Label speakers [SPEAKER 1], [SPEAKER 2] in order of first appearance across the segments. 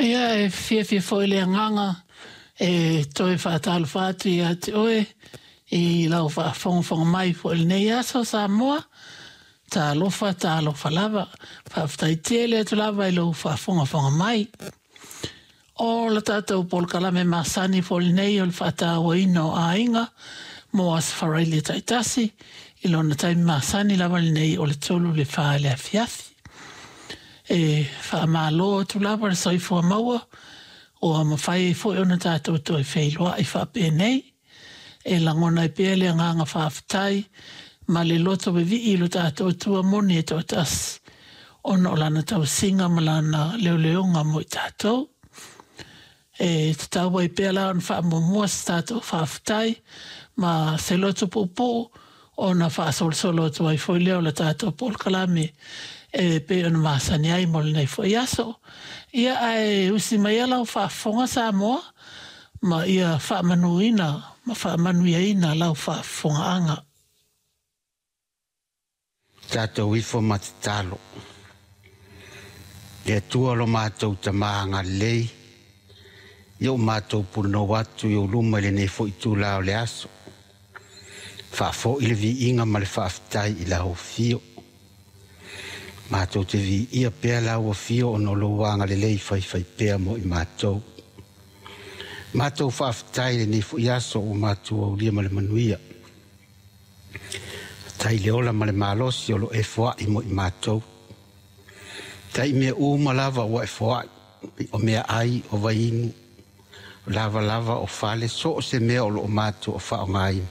[SPEAKER 1] Ia, e fiafia foi le agaga e toe faatalofa atu ia te oe i lau faafogafoga mai foi i lenei aso Samoa. Talofa, talofa lava. Faafetai tele atu lava i lou faafogafoga mai. O le tatou polokalame masani foi lenei o le faatauaina o aiga mo Aso Faraile taitasi i lona taimi masani lava lenei o le 3 i le 4 i le afiafi. E faamalo atu lava le soifua maua ua mafai ai foi ona tatou toe feiloai faapenei. E lagona ai pea le agaga faafetai ma le loto vevii i lo tatou Atua moni e toatasi, ona o lana tausiga ma lana leoleoga mo i tatou. E tatau ai pea la ona faamuamua se tatou faafetai ma se loto puupuu ona faasolosolo atu ai foi lea o le tatou polokalame e pei ona masani ai mo lenei foi aso. Ia ae usi mai lau faafofoga Samoa ma ia faamanuina ma faamanuiaina lau faafofogaaga.
[SPEAKER 2] Tatou ifo ma tatalo. Le Atua lo matou Tama agalelei, ia o matou punonou atu i ou luma i lenei foi itula o le aso. Faafoi le viiga ma le faafetai i lau afio. Matou te viia pea lau afio ona o lou agalelei faifaipea mo i matou. Matou faafetai i lenei foi aso ua matou aulia ma le manuia. Faafetai i le ola ma le malosi o lo e foai mo i matou. Tai mea uma lava ua e foai, o mea ai, o vainu, o lavalava, o fale, so o se mea o lo o matou o faaaogaina,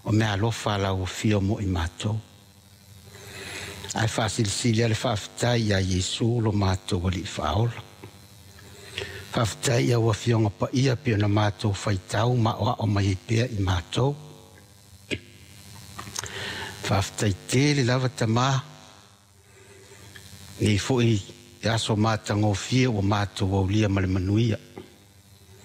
[SPEAKER 2] o mea alofa a lau afio mo i matou. Ae faasilisili lava le faafetai ia Iesu lo matou Alii Faaola. Faafetai i au Afioga Paia pei ona matou faitau ma aoao mai ai pea i matou. Faafetai tele lava Tama, nei foi e aso matagofie ua matou aulia ma le manuia.